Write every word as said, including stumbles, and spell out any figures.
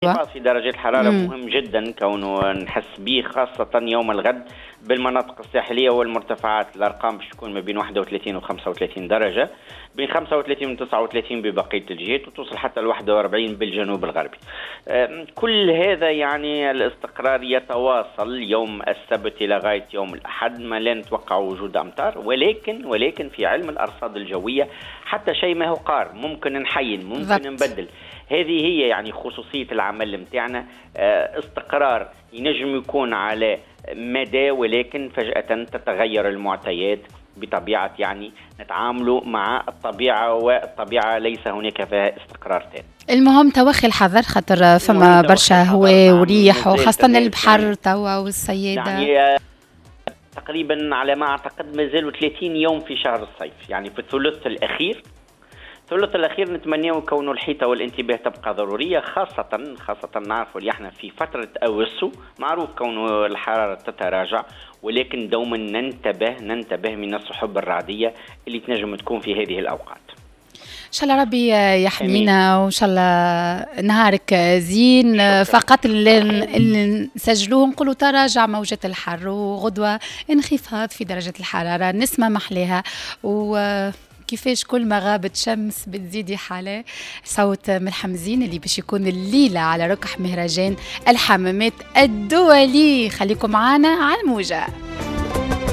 انخفاض في درجات الحرارة مم. مهم جدا كونه نحس به خاصة يوم الغد بالمناطق الساحلية والمرتفعات. الأرقام باش تكون ما بين واحد وثلاثين و خمسة وثلاثين درجة، بين خمسة وثلاثين و تسعة وثلاثين ببقية الجهات، وتوصل حتى ل واحد وأربعين بالجنوب الغربي. كل هذا يعني الاستقرار يتواصل يوم السبت إلى غاية يوم الأحد، ما لا نتوقع وجود أمطار، ولكن ولكن في علم الأرصاد الجوية حتى شيء ما هو قار، ممكن نحين، ممكن ضبط. نبدل. هذه هي يعني خصوصية العمل متاعنا، استقرار ينجم يكون على مدى، ولكن فجأة تتغير المعطيات بطبيعة، يعني نتعامل مع الطبيعة، والطبيعة ليس هناك فيها استقرار تام. المهم توخي الحذر، خاطر فما برشا هواء وريح، وخاصة البحر توا والصيادة. يعني تقريبا على ما أعتقد ما زالوا ثلاثين يوم في شهر الصيف، يعني في الثلث الأخير. الثلث الأخير نتمناه كون الحيطة والانتباه تبقى ضرورية، خاصة خاصة نعرفوا اللي احنا في فترة أوسو، معروف كون الحرارة تتراجع، ولكن دوما ننتبه ننتبه من السحب الرعدية اللي تنجم تكون في هذه الأوقات. إن شاء الله ربي يحمينا، وإن شاء الله نهارك زين. شكرا. فقط اللي نسجلوه نقولوا تراجع موجة الحر، وغدوة انخفاض في درجة الحرارة، نسمة محليها، و كيفاش كل ما غابت شمس بتزيدي حالة. صوت ملحم زين اللي باش يكون الليلة على ركح مهرجان الحمامات الدولي. خليكم معنا على الموجة.